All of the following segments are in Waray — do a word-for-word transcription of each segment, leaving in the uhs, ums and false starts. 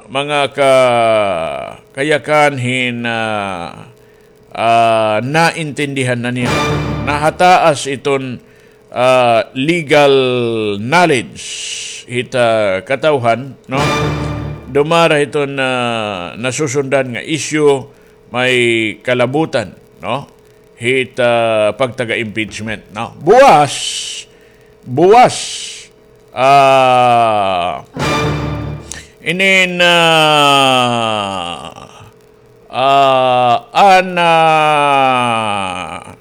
mga ka-, kayakan hin, ah, ah, naintindihan na nira. Nahataas iton, ah, legal knowledge hit, ah, katawhan, no? Dumara hiton, ah, nasusundan nga isyu, may kalabutan, no? Hit, ah, pagtaga-impeachment, no? Buwas, buwas, ah, inin, ah, ah, an, ah,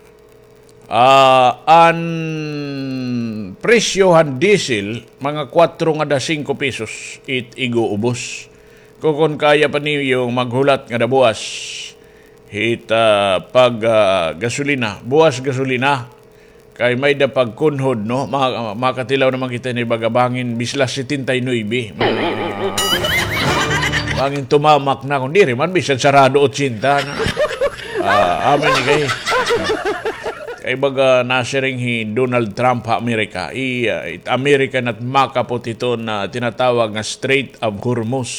ah, an presyo han diesel, mga kwatro ngada singko pesos, it ig-uubos. Kukon kaya pa niyo maghulat ngada buwas hit, ah, pag, ah, gasolina. Buwas gasolina. Kay may-ada pagkunhod, no? Ma-, makatilaw naman kita ni baga bangin, bislas setenta y nuebe. Ma-, bangin tumamak na. Kun diri man, bisan sarado otsenta na. Ah, amin ni kay. Kay baga nasiring hi Donald Trump ha Amerika. I, ah, it Amerika nat makapot hiton tinatawag nga Strait of Hormuz.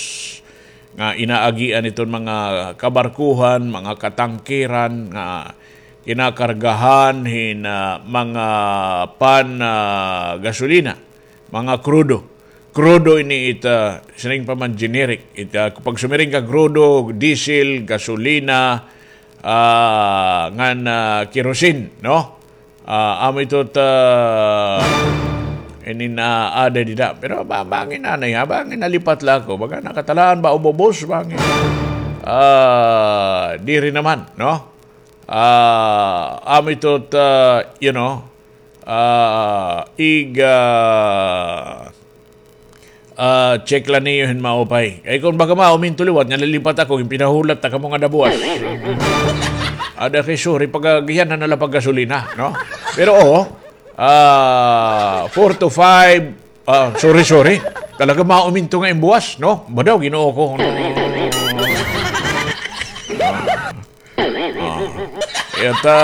Nga inaagian iton mga kabarkuhan, mga katangkeran nga kinakargahan hin, ah, mga pan, ah, gasolina, mga krudo. Krudo ini it, ah, siring pa man generic. It, ah, pag sumiring ka krudo, diesel, gasolina, ah, ngan, ah, kerosene, no? Ah, amo ito ta ini na ada dida. Pero ba, bangin anay, ha? Bangin nalipat la ako. Baga nakatalaan ba ubos, bangin. Ah, diri naman, no? Ah, amo ito ta, you know, ah, ig, ah, Ah, check la niyo hin maupay. Kay kun baga mauminto liwat nga lilipat ako, ginpinahulat ta kamo ngada buwas. Ada kay sorry, pagagihan na nala paggasolina, no? Pero, oo, ah, four to five, ah, sorry, sorry. Talaga mauminto nga imbuwas, no? Badaw, Ginoo ko. Ah. Ita,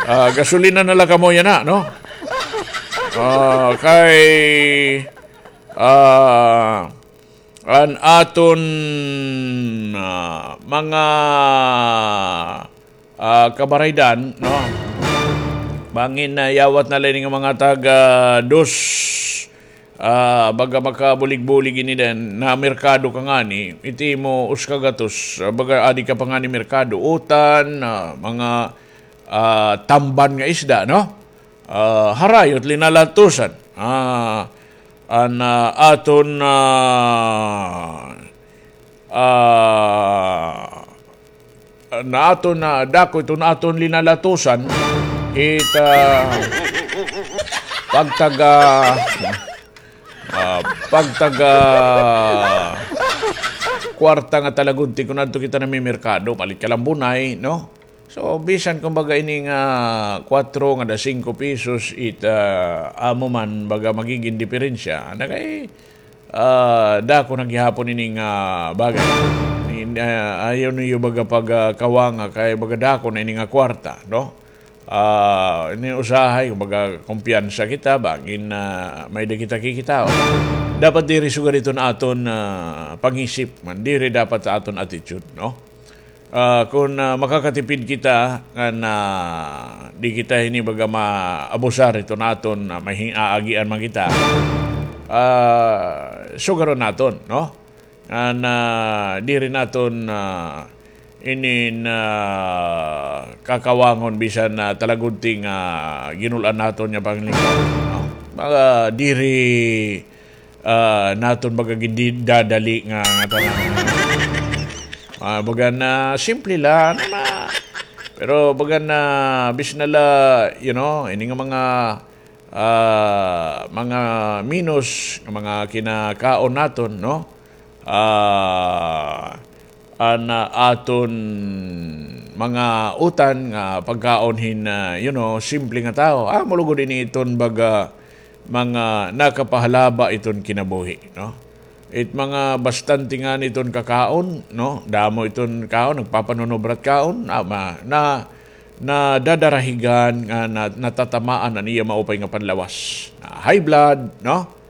ah, gasolina na la kamo yana, no? Ah, kay, ah, an aton, ah, mga, ah, kabaraydan, no? Bangin na yawat na la ini nga mga taga dos, ah, baga makabulig-bulig ini den, namerkado ka ngani, it imo usa ka gatos, ah, baga adi ka pa ngani merkado, utan, ah, mga, ah, tamban nga isda, no? Ah, harayot, linalatusan. Ah, an, ah, aton, ah, ah, na aton, ah, dako ito na aton linalatusan, it, ah, pagtaga, ah, pagtaga kwarta nga talagudti kun adto kita namimerkado, palit ka lang bunay, no? So, bisan kumbaga ini nga kwatro ngada singko pesos, it, ah, amo man baga magigin diperensya. Ana kay, ah, dako na gihapon ini nga bagay. Ini, ah, ayaw niyo baga pagkawanga kay baga dako na ini nga kwarta, no? Ah, ini usahay, kumbaga, kumpiyansa kita, bangin, ah, may-ada kita kikitaon. Dapat diri sugad iton aton, ah, pangisip man, diri dapat sa aton attitude, no? Ah, kun, ah, makakatipid kita, ngan, ah, di kita hini baga maabusar iton aton, ah, may hin-aagian man kita. Ah, sugaron naton, no? Ngan, ah, diri naton, ah, inin, ah, kakawangon bisan, ah, talagudti nga ginul-an naton nga panglingkod, no? Mga diri, ah, naton baga gindadali nga, nga tanan. Ah, baga na simple la, ano na. Pero baga na, bisan na la, you know, ini nga mga ah, mga minos nga mga kinakaon naton, no? Ah, an, ah, aton mga utan nga pagkaon hin, ah, you know, simple nga tawo. Amo lugod ini iton baga mga nakapahalaba iton kinabuhi, no? It mga bastante ngani iton kakaon, no? Damo iton kaon, nagpapanunubrat kaon, ah, ma-, na, nadadarahigan nga na-, natatamaan an iya maupay nga panlawas. Na high blood, no?